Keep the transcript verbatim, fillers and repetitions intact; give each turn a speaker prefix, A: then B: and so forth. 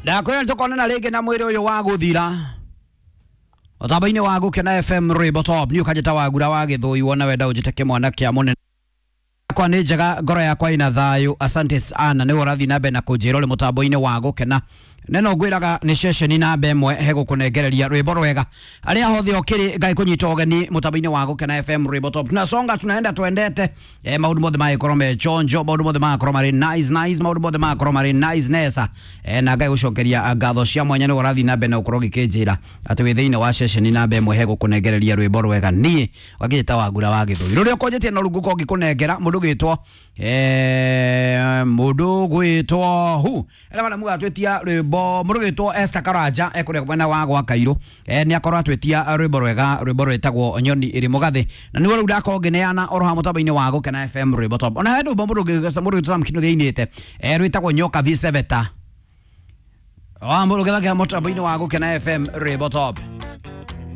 A: Ndakwĩra nĩtũkonana rĩngĩ na mwĩrĩ ũyũ wa gũthira mũtambo-inĩ wa Gũkena F M Rwĩmbo Top. Niĩ ũkanjĩta Wagura wa Gĩthũi, wona wenda ũnjĩte kĩmwana kĩa mũnene. Yakwa nĩ njega, ngoro yakwa ĩna thayũ. Asante sana, nĩwe ũrathiĩ na mbere na kũnjĩra ũrĩ mũtambo-inĩ wa Gũkena. Neno ngwĩraga nĩ ceceni namba ĩmwe he gũkũnengereria rwĩmbo rwega. Arĩa hothe ũkĩrĩ Ngai kũnyita ũgeni mũtambo-inĩ wa Gũkena F M Rwĩmbo Top. Tunasonga, tunaenda twendete. Eh, maũndũ mothe magĩkorwo me chonjo, maũndũ mothe magakorwo marĩ nice nice, maũndũ mothe magakorwo marĩ nice nesa. Eh, na Ngai gũcokeria ngatho cia mwanya nĩwe ũrathiĩ na mbere na gũkorwo ũgĩkĩnjĩra atĩ wĩ thĩinĩ wa ceceni namba ĩmwe he gũkũnengereria rwĩmbo rwega. Niĩ wakĩnjĩta Wagura wa Gĩthũi. Rũrĩa ũkũnjĩtie na rungu ngĩkũnengera mũndũ gwĩtwo eh mũndũ gwĩtwo hu ela bana muga twĩtia rwĩmbo mũndũ gwĩtwo Esther Karanja ekũrĩa mwena wa gwa Kairũ. Eh nĩ akorwo atwĩtia rwĩmbo rwega, rwĩmbo rwĩtagwo Nyoni ĩrĩ Mũgathĩ, na nĩguo rĩu ndakorwo ngĩneana oro ha mũtambo-inĩ wa Gũkena F M Rwĩmbo Top. Ona he rwĩmbo mũndũ mũndũ gwĩtwo Sam Kinuthia ainĩte, eh rwĩtagwo Nyoka V Seveta wa mũndũ gĩthakĩa mũtambo-inĩ wa Gũkena F M Rwĩmbo Top.